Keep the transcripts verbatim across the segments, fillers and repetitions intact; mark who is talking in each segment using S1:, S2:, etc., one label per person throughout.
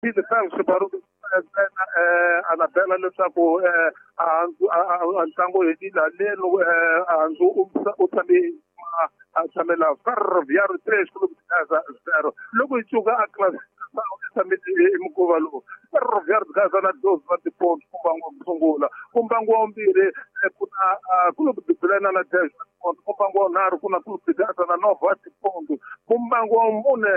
S1: Felix Baruti eh Anabela leswaku eh a ntlangu hetile haleno eh handzu u tshame a tshamela Ferroviário três Clube de Gaza zero. Loko hi cuka a classificação i tshame i mukhuva lowu Ferroviário de Gaza na doze wa tiponto ku mbangu wa ku sungula, ku mbangu wa vumbirhi ku na Clube de Bilena na dez wa tiponto, ku mbangu wa vunharhu ku na Clube de Gaza na nove wa tiponto, ku mbangu wa mune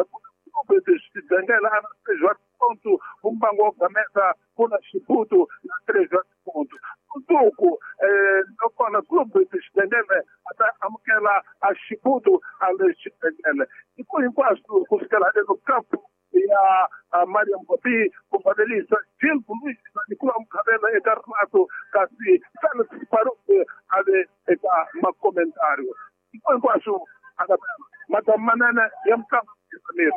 S1: ku na Clube de Xidengela na três wa tiponto, ku mbangu wa Gamesa ku na Xibutu na três wa tiponto. Mundzuku eh nakona Clube de Xidengele a ta amukela a Xibutu a le Xidengele. Tiko hinkwaswo ku fikela haleno kampu ya Mariam Bobi ku valelisa Gil Luis na Nicolas Mkhabela eka Renato kasi Felix Baruti a le eka makomentario. Tiko hinkwaswo Anabela Madam Manene ya mutlangi Samir.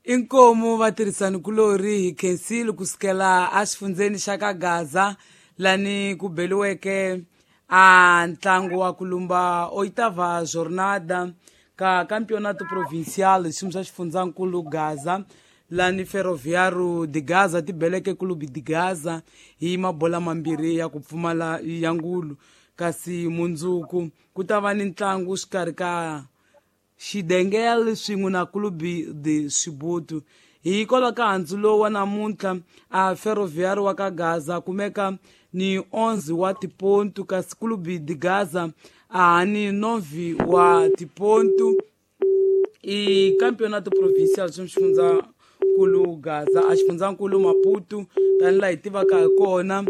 S2: Inkomu vatirhisani kulori hi khensile kusukela exifundzeni xa ka Gaza lani ku beliweke a ntlangu wa ku lumba oitava jornada ka campeonato provincial xiyimo xa xifundzankulu Gaza lani Ferroviário de Gaza ti beleke Clube de Gaza hi mabola mambirhi ya ku pfumala ya ngulu. Kasi mundzuku ku ta va ni ntlangu xikarhi ka Xidengel swin'we na Clube de Xibutu. Hikwalaho ka handzu lowu wa namuntlha a Ferroviário wa ka Gaza kumeka ni onze wa tipontu kasi Clube de Gaza a ni nove wa tipontu. I campeonato provincial xa xifundzankulu Gaza a xifundzankulu Maputo tanihi laha hi tivaka hi kona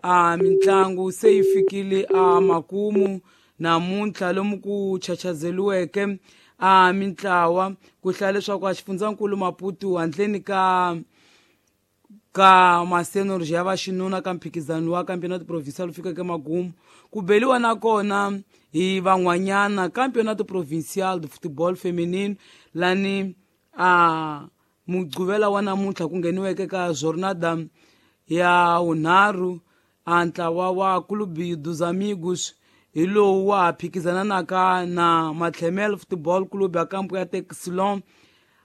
S2: a mitlangu se yi fikile a makumu namuntlha lomu ku chachazeliweke a mintlawa ku hlaya leswaku a xifundzankulu Maputo handleni ka ka masenorji ya vaxinuna ka mphikizano wa campeonato provincial wu fikeke magumu ku beliwa nakona hi van'wanyana campeonato provincial de futebol feminino lani a mugqivela wa namuntlha ku ngheniweke ka jornada ya vunharhu a ntlawa wa Clube dos Amigos hi lowu wa ha phikizananaka na Matlhemel Football Club ya kampo ya Texilon.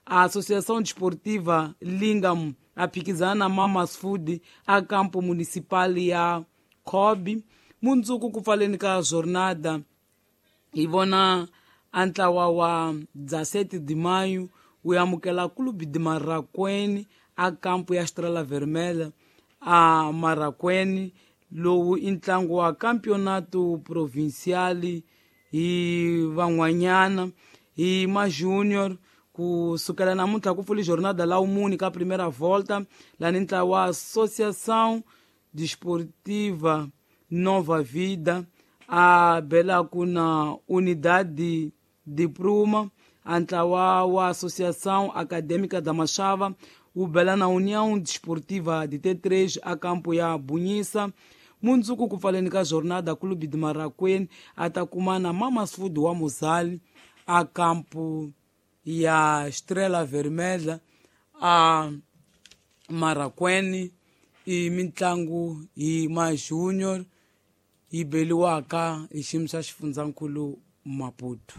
S2: Associação Desportiva Lingam a phikizana na Mamas Food a kampo municipal ya Kobe. Mundzuku ku pfaleni ka jornada hi vona a ntlawa wa dezessete de maio wu amukela Clube de Marraquene a kampo ya Estrela Vermelha a Marraquene. Lowu i ntlangu wa campeonato provincial hi van'wanyana hi ma junior ku sukela namuntlha ku pfuli jornada la wumuni ka primeira volta lani ntlawa wa Associação Desportiva Nova Vida a belaku na Unidade de Pruma. A ntlawa wa Associação Acadêmica da Machava wu bela na União Desportiva de T três a campo ya Bunhisa. Mundzuku ku pfaleni ka jornada Clube de Marraquene a ta kuma na Mamas Food wa Mozali a campo ya Estrela Vermelha a Marraquene. I mitlangu hi ma junior yi beliwaka hi xiyimo xa xifundzankulu Maputo.